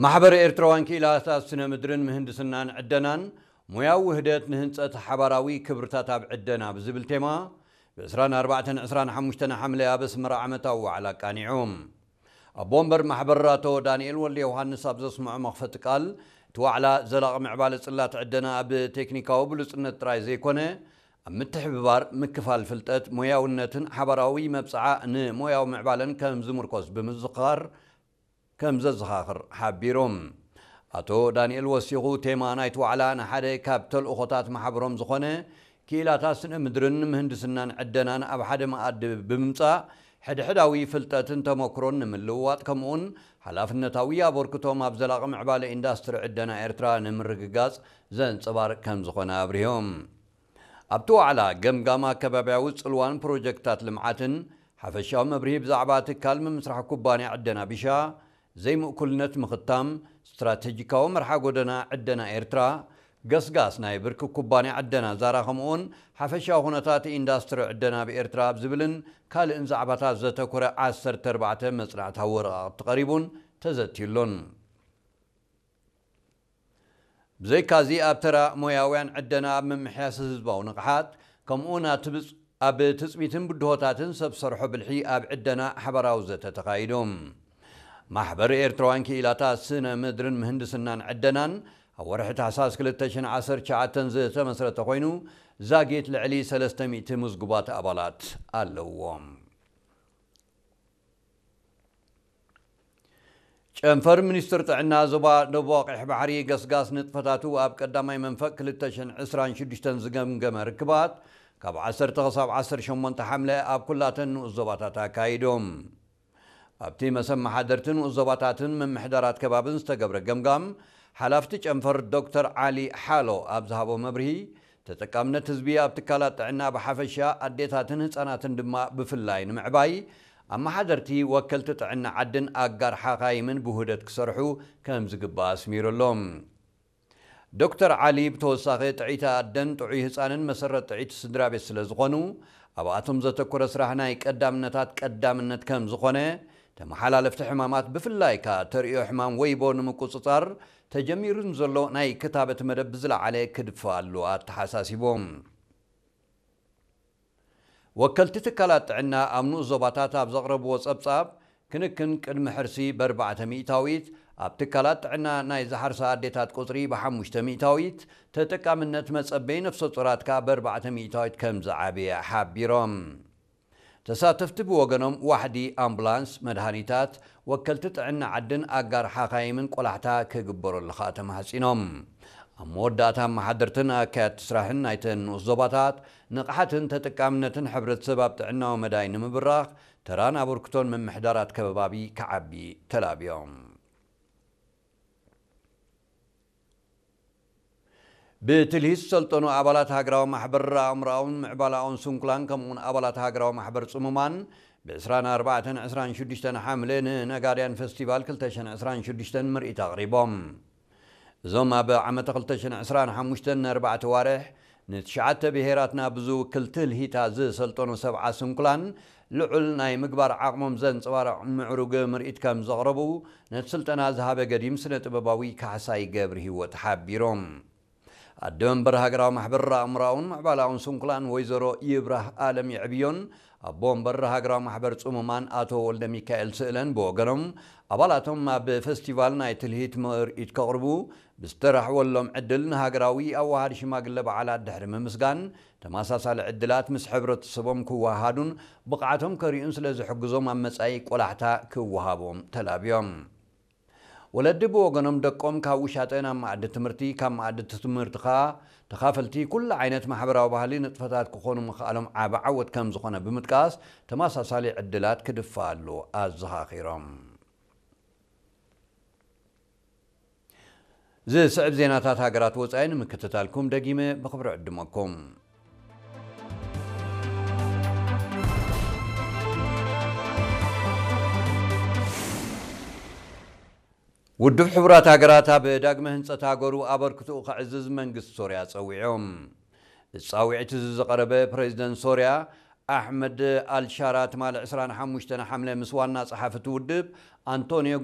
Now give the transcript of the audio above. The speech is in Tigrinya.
ማሕበር ኤርትራውያን ክኢላታት ስነ ምድርን ምህንድስናን ዕደናን ሞያዊ ውህደት ንህንጸት ሓባራዊ ክብርታት ኣብ ዕደና ብዝብል ቴማ ብ ዕስራን ኣርባዕተን ዕስራን ሓሙሽተን ሓምለ ኣብ ኣስመራ ዓመታዊ ዋዕላ ኣቃኒዑ። ኣቦ ወንበር ማሕበር ኣቶ ዳንኤል ወልደ ዮሃንስ ኣብ ዘስምዖ መኽፈቲ ቃል፣ እቲ ዋዕላ ዘላቒ ምዕባለ ጽላት ዕደና ኣብ ቴክኒካዊ ብሉጽነት ጥራይ ዘይኮነ፣ ኣብ ምትሕብባር፣ ምክፋል ፍልጠት፣ ሞያውነትን ሓባራዊ መብጽዓ ንሞያዊ ምዕባለን ከም ዝምርኮስ ብምዝኻር ከም ዘዘኻኽር ሓቢሩ። ኣቶ ዳንኤል ወሲኹ፣ ቴማ ናይቲ ዋዕላ ንሓደ ካብ ተልእኾታት ማሕበሮም ዝኾነ ክኢላታት ስነ ምድርን ምህንድስናን ዕደናን ኣብ ሓደ መኣዲ ብምምጻእ፣ ሕድሕዳዊ ፍልጠትን ተመክሮን ንምልውዋጥ፣ ከምኡውን ሓላፍነታዊ ኣበርክቶም ኣብ ዘላቒ ምዕባለ ኢንዳስትሪ ዕደና ኤርትራ ንምርግጋጽ ዘንጸባርቕ ከም ዝኾነ ኣብሪሆም። ኣብቲ ዋዕላ፣ ገምጋም ኣከባብያዊ ጽልዋን ፕሮጀክትታት ልምዓትን፣ ሓፈሻዊ መብርሂ ብዛዕባ ትካል ምምስራሕ ኩባንያ ዕደና ቢሻ፣ ዘይምእኩልነት ምኽታም፣ ስትራቴጂካዊ መርሓ ጎደና ዕደና ኤርትራ፣ ገስጋስ ናይ ብርኪ ኩባንያ ዕደና ዛራ፣ ከምኡውን ሓፈሻዊ ኩነታት ኢንዳስትሪ ዕደና ኣብ ኤርትራ ኣብ ዝብልን ካልእን ዛዕባታት ዘተኮረ ዓሰርተ ኣርባዕተ መጽናዕታዊ ወረቓቕቲ ቀሪቡን ተዘትዩሉን። ብዘይካዚ፣ ኣብ ተራ ሞያውያን ዕደና፣ ኣብ ምምሕያስ ህዝባዊ ንቕሓት፣ ከምኡውን ኣብ ትብጽ-፣ ኣብ ትጽቢትን ብድሆታትን ሰብ ሰርሖ ብልሒ ኣብ ዕደና ሓባራዊ ዘተ ተኻይዱ። ማሕበር ኤርትራውያን ክኢላታት ስነ ምድርን ምህንድስናን ዕደናን ኣብ ወርሒ ታሕሳስ ክልተ ሽሕን ዓሰርተ ትሽዓተን ዝተመስረተ ኮይኑ፣ ዛጊት ልዕሊ ሰለስተ ሚእቲ ምዝጉባት ኣባላት ኣለዎም። ጨንፈር ሚኒስትር ጥዕና ዞባ ደቡብ ቀይሕ ባሕሪ፣ ገስጋስ ንጥፈታቱ ኣብ ቀዳማይ መንፈቅ ክልተ ሽሕን ዕስራን ሽዱሽተን ዝገምገመ ርክባት፣ ካብ ዓሰርተ ክሳብ ዓሰርተ ሸሞንተ ሓምለ ኣብ ኩላተን ንኡስ ዞባታት ኣካይዶም። ኣብቲ መሰብ መሓደርቲ ንኡስ ዞባታትን ምምሕዳራት ከባብን ዝተገብረ ገምጋም፣ ሓላፍቲ ጨንፈር ዶክተር ዓሊ ሓሎ ኣብ ዝሃቦ መብርሂ፣ ተጠቃምነት ህዝቢ ኣብ ትካላት ጥዕና ብሓፈሻ፣ ኣዴታትን ህጻናትን ድማ ብፍላይ ንምዕባይ፣ ኣመሓደርቲ፣ ወከልቲ ጥዕና ዓድን ኣጋር ሓኻይምን ብውህደት ክሰርሑ ከም ዝግባእ ኣስሚሩሎም። ዶክተር ዓሊ ብተወሳኺ፣ ጥዕይቲ ኣደን ጥዑይ ህጻንን መሰረት ጥዕይቲ ስድራ ቤት ስለ ዝኾኑ፣ ኣብኣቶም ዘተኮረ ስራሕ ናይ ቀዳምነታት ቀዳምነት ከም ዝኾነ፣ ተመሓላለፍቲ ሕማማት ብፍላይ ከኣ ተርእዮ ሕማም ወይቦ ንምቁጽጻር ተጀሚሩ ንዘሎ ናይ ክታበት መደብ ብዝለዓለ ክድፋኣሉ ኣተሓሳሲቦም። ወከልቲ ትካላት ጥዕና ኣብ ንኡስ ዞባታት ኣብ ዘቕረብዎ ጸብጻብ፣ ክንክን ቅድሚ ሕርሲ ብኣርባዕተ ሚእታዊት፣ ኣብ ትካላት ጥዕና ናይ ዝሓርሳ ኣዴታት ቁጽሪ ብሓሙሽተ ሚእታዊት፣ ተጠቃምነት መጸበይ ነፍሰ ጡራት ከኣ ብኣርባዕተ ሚእታዊት ከም ዝዓበየ ሓቢሮም። ተሳተፍቲ ብወገኖም፣ ዋሕዲ ኣምቡላንስ፣ መድሃኒታት፣ ወከልቲ ጥዕና ዓድን ኣጋር ሓኻይምን ቆላሕታ ክግበረሉ ከኣ ተማሕጺኖም። ኣብ መወዳእታ፣ ኣመሓደርትን ኣካየድቲ ስራሕን ናይተን ንኡስ ዞባታት፣ ንቕሓትን ተጠቃምነትን ሕብረተሰብ ኣብ ጥዕናዊ መዳይ ንምብራኽ፣ ተራን ኣበርክቶን ምምሕዳራት ከባቢ ክዓቢ ተላብዮም። ብትልሂት ዝሰልጠኑ ኣባላት ሃገራዊ ማሕበር ኣእምሮኣውን ምዕባለኣውን ስንኩላን፣ ከምኡውን ኣባላት ሃገራዊ ማሕበር ጽሙማን፣ ብ ዕስራን ኣርባዕተን ዕስራን ሽዱሽተን ሓምለ ንነጋድያን ፈስቲቫል ክልተ ሽሕን ዕስራን ሽዱሽተን ምርኢት ኣቕሪቦም። እዞም ኣብ ዓመተ ክልተ ሽሕን ዕስራን ሓሙሽተን ንኣርባዕተ ዋርሕ ንትሽዓተ ብሄራትና ብዝውክል ትልሂታ ዝሰልጠኑ ሰብዓ ስንኩላን፣ ልዑል ናይ ምግባር ዓቕሞም ዘንጸባርቕ ምዕሩግ ምርኢት ከም ዘቕረቡ፣ ነቲ ስልጠና ዝሃበ ገዲም ስነ ጥበባዊ ካሕሳይ ገብርሂወት ሓቢሮም። ኣደ መንበር ሃገራዊ ማሕበር ኣእምሮኣውን ምዕባለኣውን ስንኩላን ወይዘሮ ይብራህ ኣለም የዕብዮን፣ ኣቦ መንበር ሃገራዊ ማሕበር ጽሙማን ኣቶ ወልደ ሚካኤል ስእለን ብወገኖም፣ ኣባላቶም ኣብ ፈስቲቫል ናይ ትልሂት ምርኢት ከቕርቡ ብዝተራሕወሎም ዕድል፣ ንሃገራዊ ኣዋሃዲ ሽማግለ በዓላት ድሕሪ ምምስጋን፣ ተመሳሳሊ ዕድላት ምስ ሕብረተሰቦም ክወሃሃዱን ብቕዓቶም ከርእዩን ስለ ዝሕግዞም፣ ኣብ መጻኢ ቆላሕታ ክወሃቦም ተላብዮም። ወለዲ ብወገኖም፣ ደቆም ካብ ውሻጠ ናብ መኣዲ ትምህርቲ፣ ካብ መኣዲ ትምህርቲ ከኣ ተኻፈልቲ ኩሉ ዓይነት ማሕበራዊ ባህሊ ንጥፈታት ክኾኑ ምኽኣሎም ዓቢ ዓወት ከም ዝኾነ ብምጥቃስ፣ ተመሳሳሊ ዕድላት ክድፋኣሉ ኣዘኻኺሮም። ዝስዕብ ዜናታት ሃገራት ወጻኢ ንምክትታልኩም ደጊመ ብኽብሪ ዕድመኩም። ውድብ ሕቡራት ሃገራት ኣብ ዳግመ ህንጸት ሃገሩ ኣበርክትኡ ከዕዝዝ መንግስቲ ሶርያ ጸዊዑ። እዚ ጻውዒት እዚ ዝቐረበ ፕሬዚደንት ሶርያ ኣሕመድ ኣልሻራ ትማሊ ዕስራን ሓሙሽተን ሓምለ ምስ ዋና ጸሓፊ እቲ ውድብ ኣንቶንዮ